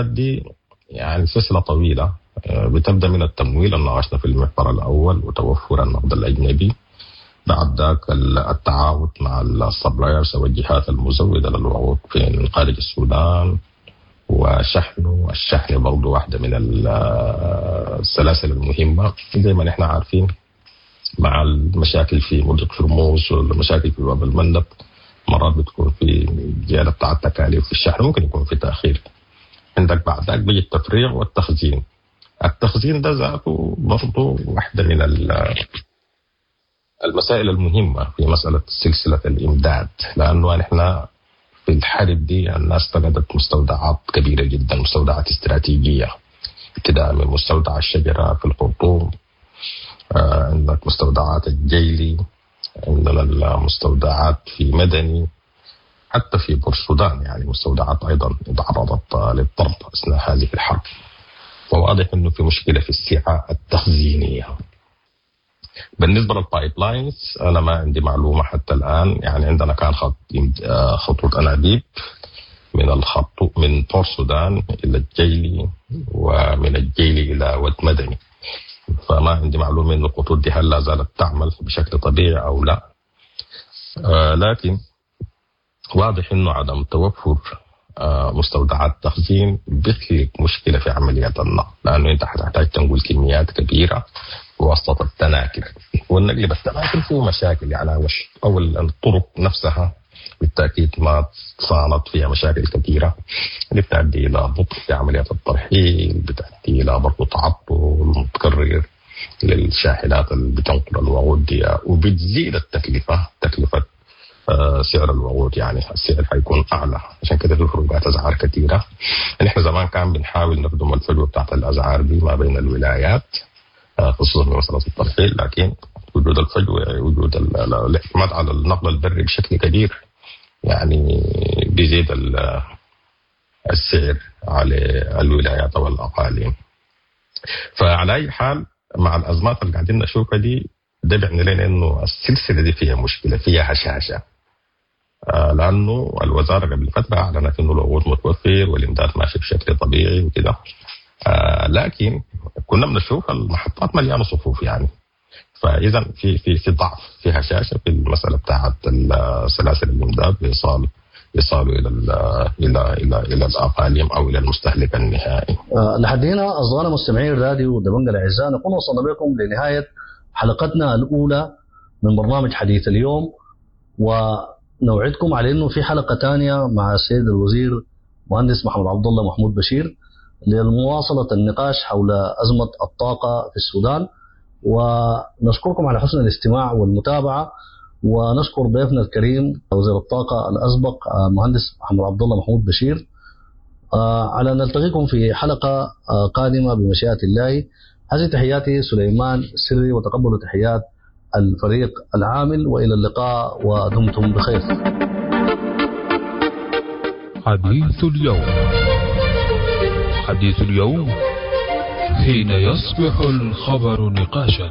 دي يعني سلسلة طويلة، بتبدا من التمويل اللي ناقشنا في المحور الاول وتوفر النقد الاجنبي، بعد ذاك التعاون مع ال suppliers او الجهات المزوده للوقود في خارج السودان وشحنه. الشحن برضه واحدة من السلاسل المهمة، زي ما نحن عارفين مع المشاكل في مضيق هرمز والمشاكل في باب المندب، مرات بتكون في زيادة بتاع التكاليف في الشحن، ممكن يكون في تاخير. عندك بعد ذاك بيجي التفريغ والتخزين. التخزين ده ذاته برضه واحدة من المسائل المهمة في مسألة سلسلة الإمداد، لأنه نحن في الحرب دي الناس فقدت مستودعات كبيرة جدا، مستودعات استراتيجية، ابتداء من مستودع الشجرة في الخرطوم، عندك مستودعات الجيلي، عندنا المستودعات في مدني، حتى في بورسودان يعني مستودعات أيضا تعرضت للضرب أثناء هذه الحرب. فواضح أنه في مشكلة في السعة التخزينية. بالنسبة لل pipelines انا ما عندي معلومة حتى الان، يعني عندنا كان خط خطوط انابيب من الخط من بور السودان الى الجيلي ومن الجيلي الى ود مدني، فما عندي معلومة انه الخطوط دي هل لا زالت تعمل بشكل طبيعي او لا. لكن واضح انه عدم توفر مستودعات تخزين بيخلق مشكلة في عملية النقل، لانه انت حتحتاج تنقل كميات كبيرة بواسطة التناكر، والنقل بالتناكر فيه مشاكل، يعني او الطرق نفسها بالتاكيد ما صانت، فيها مشاكل كثيرة اللي بتؤدي الى بطء في عمليات الترحيل، بتؤدي الى برضه تعطل متكرر للشاحنات اللي بتنقل الوقود دي، وبتزيد التكلفة، تكلفة سعر الوقود، يعني السعر حيكون اعلى، عشان كده في فروقات اسعار كثيرة. نحن زمان كان بنحاول نخدم الفجوة بتاعت الاسعار دي ما بين الولايات، خصوصا في مسالة الترحيل، لكن وجود الفجوة، وجود الاعتماد على النقل البري بشكل كبير يعني بيزيد السعر على الولايات والاقاليم. فعلى اي حال مع الازمات اللي قاعدين نشوفها دي، ده بيعني لنا انه السلسلة دي فيها مشكلة، فيها هشاشة. لانه الوزارة قبل فترة اعلنت انه الوقود متوفر والامداد ماشي بشكل طبيعي وكده، لكن كنا بنشوف المحطات مليانة صفوف يعني. فاذا في في في ضعف، في هشاشة في المسالة بتاعت سلاسل الامداد بايصال ايصاله الى ال الى الى الى الاقاليم او الى المستهلك النهائي. لحد هنا اصدقائنا مستمعين الراديو دبنجة الاعزاء نكون وصلنا بكم لنهاية حلقتنا الاولى من برنامج حديث اليوم، ونوعدكم على انه في حلقة ثانية مع السيد الوزير مهندس محمد عبد الله محمود بشير لمواصلة النقاش حول ازمة الطاقة في السودان. ونشكركم على حسن الاستماع والمتابعة، ونشكر ضيفنا الكريم وزير الطاقة الاسبق مهندس محمد عبد الله محمود بشير. على ان نلتقيكم في حلقة قادمة بمشيئة الله. هذه تحياتي سليمان السري، وتقبلوا تحيات الفريق العامل، والى اللقاء ودمتم بخير. حديث اليوم، حديث اليوم حين يصبح الخبر نقاشا.